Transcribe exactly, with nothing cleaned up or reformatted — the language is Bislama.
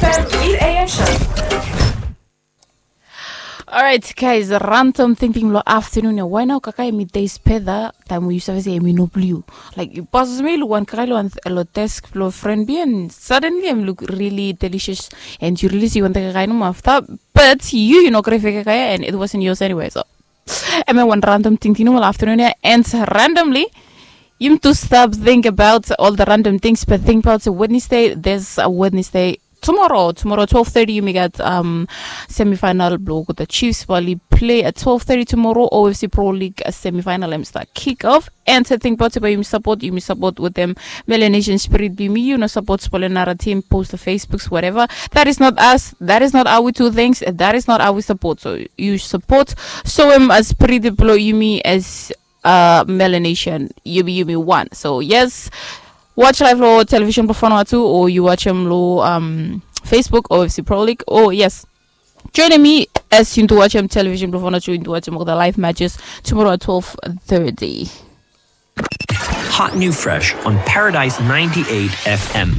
Fem eight a.m. show. Alright guys, random tingting long afternoon ya. Why now kakai mi days peda time we you save say mi no blue. Like you passes me lu one kakai lo one lo desk lo friend bi and suddenly I'm look really delicious and you really see one kakai no after. But you you know grave kakai and it wasn't yours anyway. So I mean one random tingting lo afternoon ya and randomly you to stop think about all the random things but think about Wednesday. There's a Wednesday tomorrow. Tomorrow twelve thirty yumi gat um semifinal blok with the Chiefs bali play at twelve thirty tomorrow. O F C Pro League semifinal em start kick off. And to think about it, but yumi support, yumi support with them Melanesian spirit be me, you know, support spoiler another team, post the Facebooks, whatever. That is not us. That is not how we do things. That is not how we support. So you support. So um as pretty below yumi as uh Melanesian, yumi yumi one. So yes, watch live lo television before too, or you watch him lo um Facebook O F C Pro League. Oh yes, join me as you do watch him television before too, you do watch him all the live matches tomorrow at twelve thirty. Hot new fresh on Paradise ninety-eight F M.